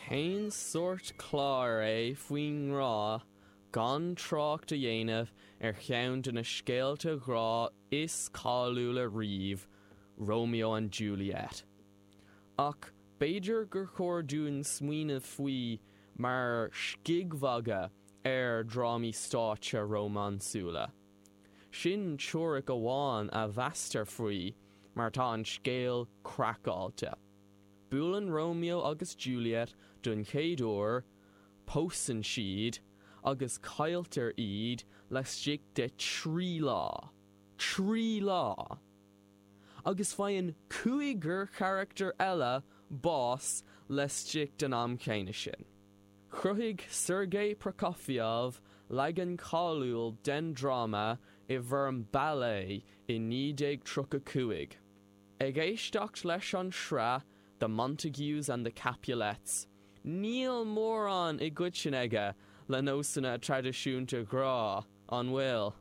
Cén sórt clár é faoin ngrá gan trácht a dhéanamh ar cheann de na scéalta grá is cáiliúla riamh, Romeo and Juliet? Ach b'fhéidir gur chóir dúinn smaoineamh faoi mar scigmhagadh ar dhrámaí stáitse rómánsúla. Sin teoiric amháin a mheastar faoi mar tá an scéal craiceáilte. Buaileann Romeo agus Juliet don chéad uair, pósann siad, agus cailltear iad laistigh de thrí lá. 3 lá! Agus faigheann cúigear charachtar eile bás laistigh den am chéanna sin. Chruthaigh Sergei Prokofiev leagan cáiliúil den dráma i bhfoirm ballet i 1935. Ag éisteacht leis an sraith The Montagues and the Capulets, níl mórán i gcoiteann aige le nósanna traidisiúnta grá, an bhfuil?